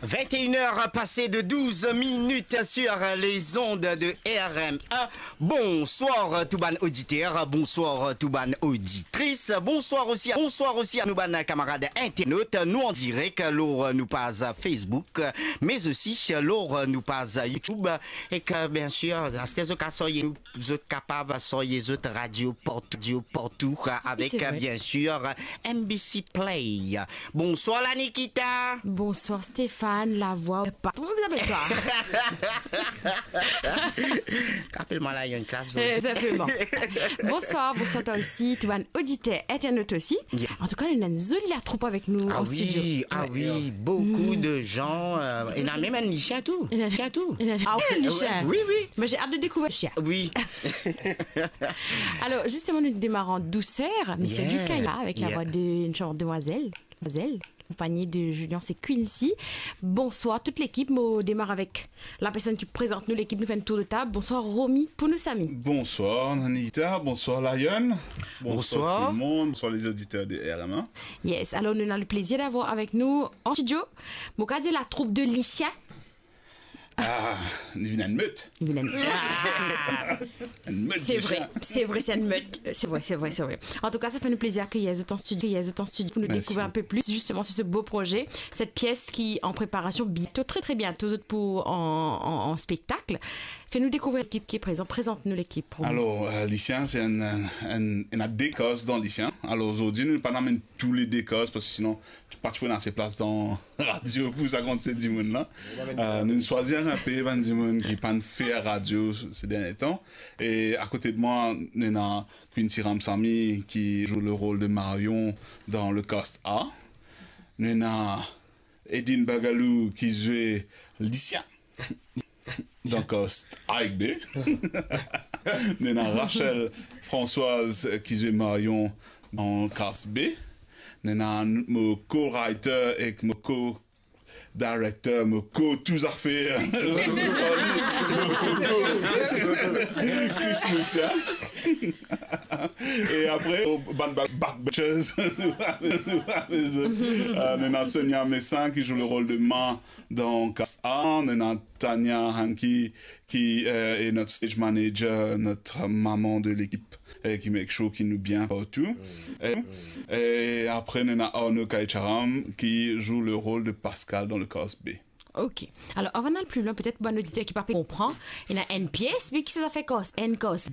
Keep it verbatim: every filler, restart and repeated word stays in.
Vingt et une heures passées de douze minutes sur les ondes de R M un. Bonsoir tou bann oditer, bonsoir tou bann oditris, bonsoir osi, bonsoir osi a nou bann kamarad internat, nou an direk lor nou paz Facebook, mais aussi lor nou paz YouTube, ek bien sir, aster zot kapav sarye nou, zot kapav sarye zot radio partou, radio partou, avek, se vre, bien sir, M B C Play. Bonsoir la Nikita. Bonsoir Stéphane, la voix pa. Kouma ou apel twa? Apel mwa la, Yann Klaas. Eh, tou sinpleman. Bonsoir, bonsoir twa osi, tou bann oditer, internat osi. Yeah. An tou ka, nou ena enn zoli latroup avek nou an studio. Ah wi, ah wi, boukou de zan, euh, ena mem enn lisien tou. Ena, lisien tou. Ena, ah wi, enn lisien. Wi, wi. Mwa, mo ave ant de dekouvrir lisien. Wi. Alor, zisteman, nou demar an douser, Misie Dukaya, avek la vwa de enn zanr demwazel, demwazel, akonpagn de Julian, se Quincy. Bonsoir tout lekip. Mo demar avek la personn ki prezant nou lekip, nou fer enn tour de tab. Bonsoir Romy, pou nou Samy. Bonsoir Nanita, bonsoir Layon. Bonsoir tout le monde, bonsoir les auditeurs de R M un. Yes, alor nou ena le plezir d'avoir avek nou an studio, mo kapav dir latroup de lisien. Ah, li vinn enn met. Li vinn enn met. Ah. Enn met. Se vre, se vre, se enn met. Se vre, se vre, se vre. An tou ka, sa fer nou plezir akeyir zot an studio, akeyir zot an studio pou nou dekouvrir enn pe plis, zisteman, sir se bo proze, set pies ki an preparasion, biento, tre, tre biento, zot pou an, an, an spektak. Fer nou dekouvrir lekip ki prezan, prezant nou lekip. Alor, euh, lisien, se enn, enn, ena de kaz dan lisien. Alor, zordi, nou pa amenn tou le de kaz, parski sinon, pa ti pou ena ase plas dan radio pou sa kantite dimoun la. Euh, nou swazir enn pe bann dimoun ki pa'nn fer radio se dernie tan. E akote de mwa, nou ena Quincy Ramsamy ki zwe le rol de Marion dan le cast A. Nou ena Edine Bagalou ki zwe lisien dan cast A ek B. Nou ena Rachel Françoise ki zwe Marion dan cast B. Nou ena mo co-writer ek mo co-director, mo co tou zafer. Mo co-, Chris Moutia. E apre, bann ba-, backbenchers, nou ena Sonia Messin ki zwe le rol de Ma dan cast A, nou ena Tania Hanky ki, euh, est notre stage manager, notre maman de l'équipe, euh, qui make sure ki nou bien partou. E, e apre, nou ena Arnaud Kaicharam ki zwe le rol de Pascal dan le cast B. Ok. Alor, avan al pli lwin, petet bann oditer ki pa pe konpran, ena enn pies, me ki sa fer cast, enn cast